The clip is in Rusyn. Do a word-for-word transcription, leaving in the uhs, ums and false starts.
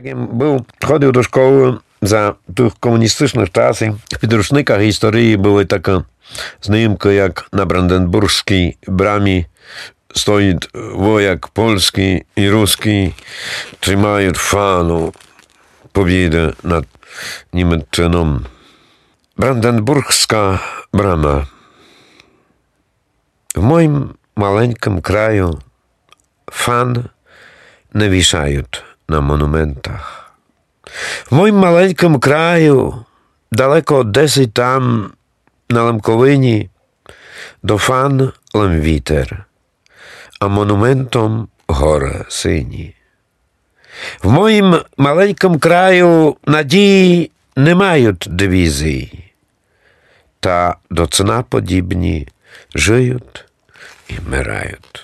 Єм быв, ходив до школы за тых комуністычных часів. В підручниках історії были такы знимкы, як на Бранденбургскій брамі стоіт вояк польскій і рускій, тримають фану побіды над Німеччыном. Бранденбургска брама. В моім маленькым краю фан не вішають на монументах. В моім маленькым краю, далеко десь там, на Лемковині, до фан лем вітер, а монументом горы сині. В моім маленькым краю надії не мають дивізій, та до цна подібні жыють і мирають.